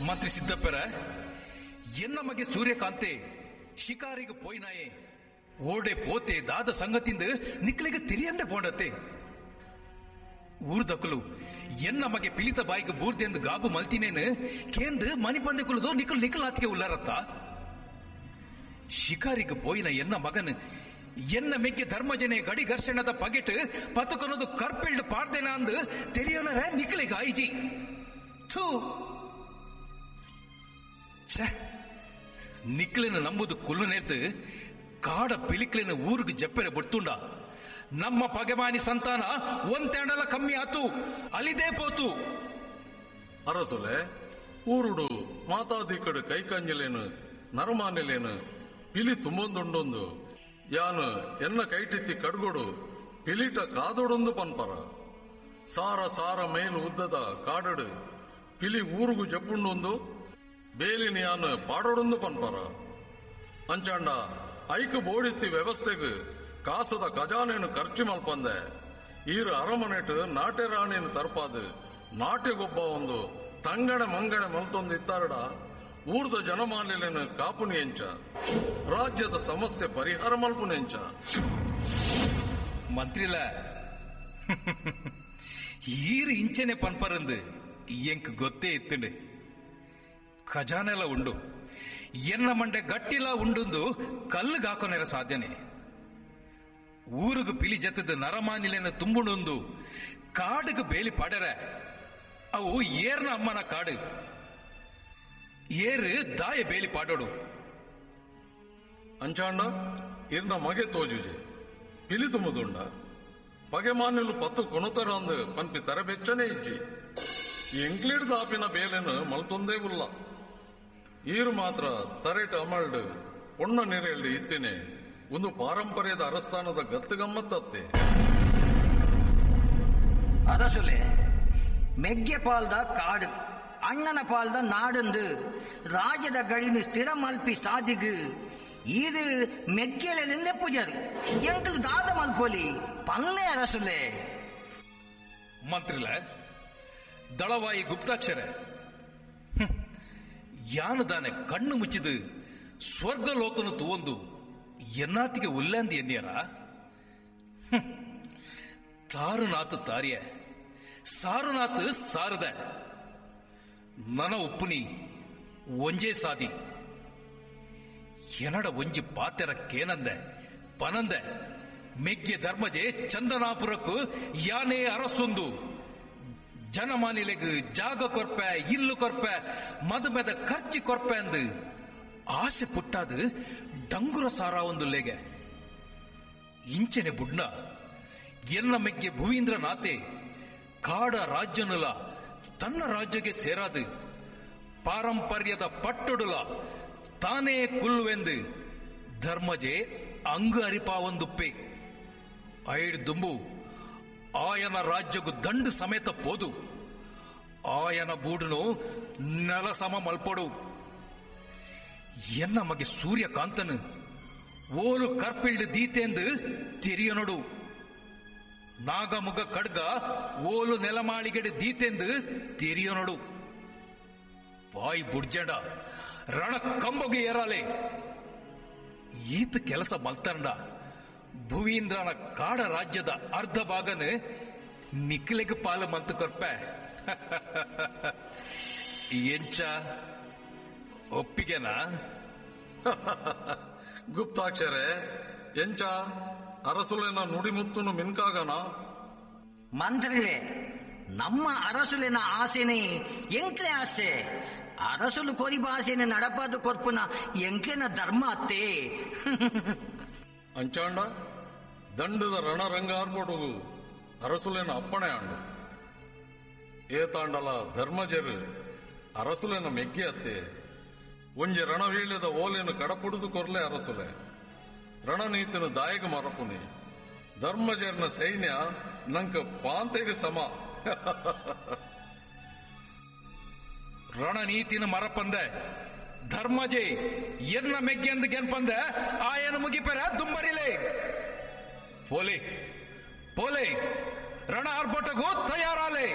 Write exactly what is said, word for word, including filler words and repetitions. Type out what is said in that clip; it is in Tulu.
ಮಂತ್ರಿ ಸಿದ್ದಪ್ಪರ, ಎನ್ನ ಮಗೆ ಸೂರ್ಯಕಾಂತೆ ಶಿಕಾರಿಗೆ ಪೋಯ್ನಾಯೆ ಓಡೆ ಪೋತೆ ದಾದ ಸಂಗತಿಂದ ನಿಕ್ಲಿಗೆ ತಿರಿಯಂದೆ ಪೋಂಡತ್ತೆ. ಊರ್ದಕ್ಕಲು ಎನ್ನ ಮಗೆ ಪಿಲಿತ ಬಾಯಿಗೆ ಬೂರ್ದೆಂದು ಗಾಬು ಮಲ್ತಿನೇನು ಕೇಂದ್ರ ಮನಿಪಂದೆ ಕುಲದು ನಿಕಲ್ ನಿಕಲಾತಿಗೆ ಉಲ್ಲಾರತ್ತ. ಶಿಕಾರಿಗೆ ಪೋಯಿನ ಎನ್ನ ಮಗನ್ ಎನ್ನ ಮೆಗ್ಗೆ ಧರ್ಮಜನೆ ಗಡಿ ಘರ್ಷಣದ ಪಗೆಟ್ ಪತಕೊನದು ಕರ್ಪಿಲ್ಡ್ ಪಾಡ್ದೇನ ಅಂದು ತೆರಿಯೋನರ ನಿಕಲಿಗೆ ಆಯಿಜಿ. ಥೂ ಛೆ, ನಿಕ್ಲಿನ ನಂಬುದು ಕುಲ್ಲು ನೇರ್ದು ಕಾಡ ಪಿಲಿಕ್ಲಿನ ಊರಿಗೆ ಜಪ್ಪೆರೆ ಬಿಡ್ತುಂಡ. ನಮ್ಮ ಪಗೆಮಾನಿ ಸಂತಾನ ಒಂತೆಂಡಲ ಕಮ್ಮಿ ಆತು, ಅಲಿದೇ ಪೋತು. ಅರಸುಲೆ, ಊರುಡು ಮಾತಾದಿಕಡು ಕೈಕಂಜಲೇನು ನರಮಾನಿಲೇನು ಪಿಲಿ ತುಂಬೊಂದುಂಡೊಂದು ಯಾನು ಎನ್ನ ಕೈಟಿತ್ತಿ ಕಡ್ಗೊಡು ಪಿಲಿಟ ಕಾದೊಡೊಂದು ಪನ್ಪರ. ಸಾರ ಸಾರ ಮೇಲು ಉದ್ದದ ಕಾಡಡು ಪಿಲಿ ಊರುಗು ಜಪ್ಪುಂಡೊಂದು ಬೇಲಿನ ಯಾನು ಪಾಡೊಡೊಂದು ಪನ್ಪರ. ಅಂಚಾಂಡ ಐಕು ಬೋಡಿತ್ತಿ ವ್ಯವಸ್ಥೆಗ್ ಕಾಸದ ಖಜಾನೇನು ಖರ್ಚು ಮಲ್ಪಂದೆ ಈರು ಅರಮನೆಟು ನಾಟ್ಯ ರಾಣಿಯನ್ನು ತರ್ಪಾದು ನಾಟ್ಯ ಗೊಬ್ಬ ಒಂದು ತಂಗಣೆ ಮಂಗಣೆ ಮಲ್ತೊಂದು ಇತ್ತಾರಡ ಊರ್ದ ಜನಮಾನ್ಯಲೇನು ಕಾಪುನಿ ಎಂಚ, ರಾಜ್ಯದ ಸಮಸ್ಯೆ ಪರಿಹಾರ ಮಲ್ಪುನೆಂಚ. ಮಂತ್ರಿಲ ಈರು ಇಂಚನೆ ಪನ್ಪರಂದು ಎಂಕ್ ಗೊತ್ತೇ ಇತ್ತುಂಡು. ಖಜಾನೆಲ ಉಂಡು, ಎನ್ನ ಮಂಡೆ ಗಟ್ಟಿಲ ಉಂಡುಂದು ಕಲ್ಲುಗಾಕೊನೆರ ಸಾಧ್ಯನೆ. ಊರುಗು ಪಿಲಿ ಜತ್ತದ ನರಮಾನಿಲೆನ ತುಂಬುಣೊಂದು ಕಾಡುಗು ಬೇಲಿ ಪಾಡರ ಅವು ಏರ್ನ ಅಮ್ಮನ ಕಾಡು ಏರು ದಾಯ ಬೇಲಿ ಪಾಡೋಡು. ಅಂಚಾಂಡ ಇರ್ನ ಮಗೆ ತೋಜುಜೆ ಪಿಲಿ ತುಂಬುದುಂಡ ಪಗೆಮಾನಿಲು ಪತ್ತು ಕೊಣತರ ಅಂದು ಪನ್ಪಿ ತರಬೆಚ್ಚನೆ ಇಜ್ಜಿ. ಎಂಕ್ಲಿಡ್ ದಾಪಿನ ಬೇಲೆನು ಮಲ್ತೊಂದೇ ಉಲ್ಲ. ಈರು ಮಾತ್ರ ತರೇಟ್ ಅಮಲ್ಡ್ ಪೊಣ್ಣ ನೆರೆಯಲ್ಲಿ ಇತ್ತೇನೆ ಒಂದು ಪಾರಂಪರ್ಯದ ಅರಸ್ಥಾನದ ಗತ್ತು ಗಮ್ಮತ್ತತ್ತೆ. ಅರಸುಲೆ, ಮೆಗ್ಗೆ ಪಾಲ್ದ ಕಾಡು ಅಣ್ಣನ ಪಾಲ್ದ ನಾಡಂದು ರಾಜ್ಯದ ಗಡಿನ ಸ್ಥಿರ ಮಲ್ಪಿ ಸಾದಿಗು ಇದು ಮೆಗ್ಗೆಲೆಂದೆ ಪೂಜಾರಿ ಎಂಕಲ್ ದಾದ ಮಲ್ಪೊಲಿ ಪಲ್ಲೆ ಅರಸುಲೆ. ಮಂತ್ರಿಲ ದಳವಾಯಿ ಗುಪ್ತಾಕ್ಷರ ಯಾನು ದಾನೆ ಕಣ್ಣು ಮುಚ್ಚಿದು ಸ್ವರ್ಗ ಲೋಕನು ತೂವೊಂದು ಎನ್ನಾತಿಗೆ ಉಲ್ಲಾಂದಿ ಎನ್ನಿಯರ. ತಾರುನಾತು ತಾರಿಯ ಸಾರುನಾತು ಸಾರದ ನನ ಉಪ್ಪುನಿ ಒಂಜೇ ಸಾದಿ ಎನಡ ಒಂಜಿ ಪಾತೆರ ಕೇನಂದೆ ಪನಂದೆ ಮೆಗ್ಗೆ ಧರ್ಮಜೆ ಚಂದನಾಪುರಕ್ಕೂ ಯಾನೇ ಅರಸೊಂದು ಜನಮಾನಿಲೆಗು ಜಾಗ ಕೊರ್ಪೆ ಇಲ್ಲು ಕೊರ್ಪೆ ಮದುಮೆದ ಖರ್ಚಿ ಕೊರ್ಪೆ ಅಂದು ಆಸೆ ಪುಟ್ಟಾದು ಡಂಗುರ ಸಾರ ಒಂದು ಲೇಗೆ ಇಂಚನೆ ಬುಡ್ನ ಎನ್ನ ಮೆಗ್ಗೆ ಭುವೀಂದ್ರನಾಥೆ ಕಾಡ ರಾಜ್ಯನುಲ ತನ್ನ ರಾಜ್ಯಕ್ಕೆ ಸೇರಾದು ಪಾರಂಪರ್ಯದ ಪಟ್ಟೊಡುಲ ತಾನೇ ಕುಲ್ಲುವೆಂದು ಧರ್ಮಜೆ ಅಂಗು ಅರಿಪಾವೊಂದುಪ್ಪೆ ಐಡ್ ದುಂಬು ಆಯನ ರಾಜ್ಯಗು ದಂಡು ಸಮೇತ ಪೋದು ಆಯನ ಬೂಡುನು ನೆಲಸಮ ಮಲ್ಪೊಡು. ಎನ್ನ ಮಗೆ ಸೂರ್ಯಕಾಂತನು ಓಲು ಕರ್ಪಿಲ್ಡ್ ದೀತೆಂದು ತೆರಿಯನೊಡು. ನಾಗಮುಗ ಖಡ್ಗ ಓಲು ನೆಲಮಾಳಿಗೆಡೆ ದೀತೆಂದು ತೆರಿಯನೊಡು. ಬಾಯಿ ಬುಡ್ಜಂಡ ರಣ ಕಂಬೊಗೆ ಏರಾಲೆ ಈತ ಕೆಲಸ ಮಲ್ತಂಡ ಭುವೀಂದ್ರನ ಕಾಡ ರಾಜ್ಯದ ಅರ್ಧ ಭಾಗನ ನಿಕ್ಲೆಗ್ ಪಾಲು ಮಂತು ಕೊರ್ಪೆ. ಎಂಚ ಒಪ್ಪಿಗೆನಾ? ಗುಪ್ತಾಕ್ಷರೇ, ಎಂಚ ಅರಸುಲೆನ ನುಡಿಮುತ್ತುನು ಮಿನ್ಕಾಗನ? ಮಂತ್ರಿಲೆ, ನಮ್ಮ ಅರಸುಲೆನ ಆಸೆನೆ ಎಂಕ್ಲೆ ಆಸೆ. ಅರಸುಲು ಕೊರಿಬ ಆಸೆನೆ ನಡಪಾದು ಕೊರ್ಪುನ ಎಂಕ್ಲೆನ ಧರ್ಮ ಅತ್ತೆ. ಅಂಚಾಂಡ ದಂಡದ ರಣರಂಗಾರ್ಪೊಡುಗು ಅರಸುಲೆನ ಅಪ್ಪಣೆ ಆಂಡು. ಏತಾಂಡಲ ಧರ್ಮಜರು ಅರಸುಲೆನ ಮೆಗ್ಗಿ ಅತ್ತೆ. ಒಂಜಿ ರಣವೀಳ್ಯದ ಓಲೆನು ಕಡಪುಡುದು ಕೊರ್ಲೆ ಅರಸುಲೆ. ರಣನೀತಿನ ದಾಯಕ ಮರಪುನಿ ಧರ್ಮಜರ್ನ ಸೈನ್ಯ ನಂಕ ಪಾಂತೆಗೆ ಸಮ. ರಣನೀತಿನ ಮರಪಂದೆ ಧರ್ಮಜೆ ಎನ್ನ ಮೆಗ್ಗೆಂದು ಗೆನ್ಪಂದೆ ಆಯನ ಮುಗಿಪೆರ ದುಂಬರಿಲೆ. ಪೋಲೆ ಪೋಲೆ ರಣ ಆರ್ಭಟಗೂ ತಯಾರಾಲೆ.